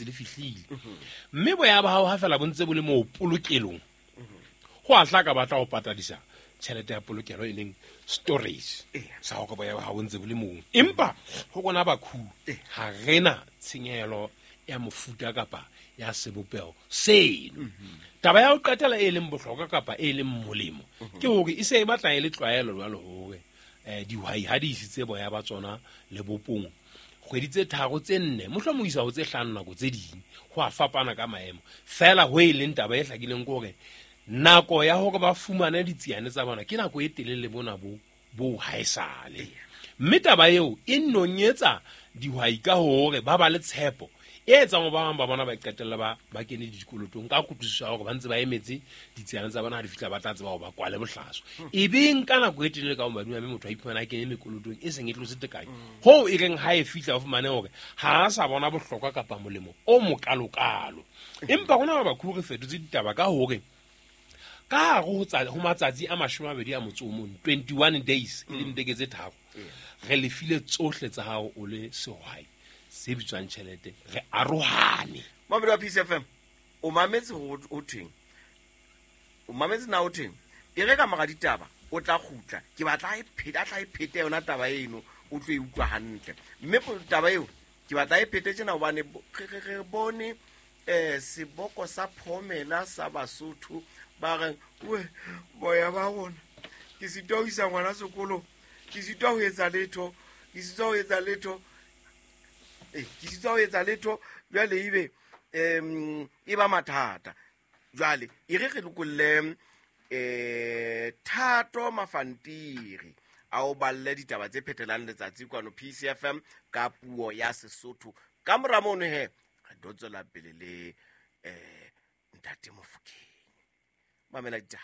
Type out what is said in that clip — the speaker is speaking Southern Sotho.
setse le fihlile. Mme boya ba hao ha fela bo ntse bo le moo polokelong, go a hlaka ba tla go patadisa tšhelete ya polokelo e leng storage sa gore boya ba gago ntse bo le moo. Empa go rona bakhu ga rena tshenyegelo ya mofuta kapa ya sebopeho seno. Taba ya go qetela e leng bohlokwa kapa e leng molemo ke hore e se e batla e le tlwaelo jwalo hore dihwai ha di isitse boya ba tsona lebopong kgwedi tse 3 tse 4 mohlomong isa ho tse 5 nako tse ding, ho a fapana ka maemo. Fela ho e leng taba e hlakileng ke hore nako ya hore ba fumane ditsiane tsa bona ke nako e telele bona bo haesale. Mme taba eo e nonyetsa dihwai ka hore ba ba le tshepo e etsang hore ba bang ba bona ba qetella ba kene dikolotong ka kutlwisiso ya hore ba ntse ba emetse ditsiane tsa bona ha di fihla ba tla tseba hore ba kwale bohlaswa. E beng ka nako e telele ka ho madima, mme motho a iphumana a kene mekolotong e seng e tlotse tekanyo. Hoo e reng ha e fihla o fumane hore ha a sa bona bohlokwa kapa molemo o mokalokalo. Empa rona ba bakhu re fetotse ditaba ka hore ka hare ho matsatsi a 21, 21 days, e leng beke tse 3, re lefile tsohle tsa hao o le sehwai se bitswang tjhelete, re arohane. Mamedi wa Peace FM, o mametse ho thweng? O mametse na ho thweng? E re ka mora ditaba o tla kgutla, ke batla e phete, a tla e phete yona taba eno, o tlo e utlwa hantle. Mme taba eo ke batla e phete tjena hobane re bone seboko sa phomela sa Basotho ba reng we boya ba rona, ke sitwa ho isa ngwana sekolo, ke sitwa ho etsa letho, ke sitwa ho etsa letho, ke sitwa ho etsa letho. Jwale ebe e ba mathata. Jwale e re re lokolle Thato Mafantiri a o balle ditaba tse phethelang letsatsi kwano Peace FM ka puo ya Sesotho. Ka mora mono he re tlo tswela pele le Ntate Mofokeng. Mamela ditaba.